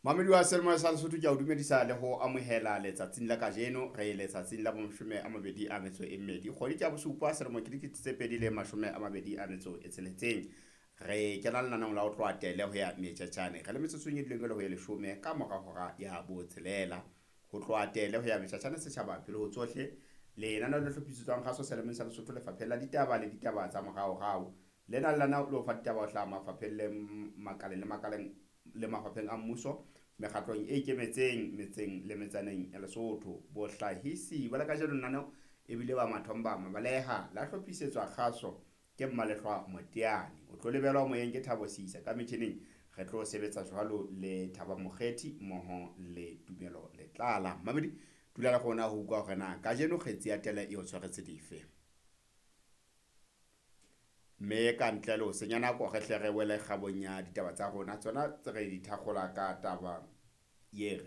Mamedi wa Selemo sa Lesotho, ke a o dumedisa le ho amohela letsatsing la kajeno. Re letsatsing la 22, kgwedi ke ya bosupa, selemo ke 2026. Re kena lenaneong la ho tloha tele ho ya metjatjane, re le metsotsong e dileng e le ho ye 10 ka mora hora ya 6. Ho tloha tele ho ya metjatjane, setjhaba pele ho tsohle. Lenaneo le hlophisetswang kgaso Selemeng sa Lesotho, lefapheng la ditaba le ditaba tsa moraorao. Lena lenaneo le ho fa ditaba ho hlaha mafapheng le makaleng le makaleng le mafapheng a mmuso, mekgatlong e ikemetseng, metseng le metsaneng ya Lesotho. Bohlahisi ba la kajeno lenaneo ebile ba Mathomba Mabaleha, la hlophisetswa kgaso ke Mmalehlwa Moteane. O tlo lebelwa moyeng ke Thabo Sisa, ka metjhining re tlo sebetsa jwalo le Thaba Mokgethi mmoho le Tumelo Letlala. Mamedi, dula le rona ho utlwa hore na kajeno kgetsi ya tele e o tshwaretse dife. Mme ka ntle le ho senya nako, re hle re wele kgabong ya ditaba tsa rona, tsona tse re di thakgola ka taba ye.